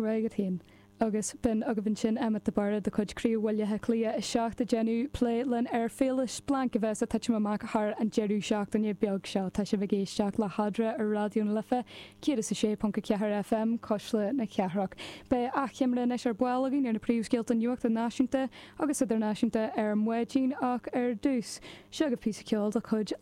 Go raibh maith agat féin. Agus b'in agaibh ansin Emmet de Barra de chuid Craobh Bhaile Átha Cliath 7 ag déanamh plé linn ar Féile Splanc a bheas ag titim amach thar an deireadh seachtaine beag seo. Tá sibh ag éisteacht le hEadra ar Raidió na Life 106.4 FM, Cuisle na Cathrach. Beidh achoimre anois ar ball againn ar na príomhscéalta nuachta náisiúnta agus idirnáisiúnta ar maidin ach ar dtús, seo agaibh píosa ceoil de chuid.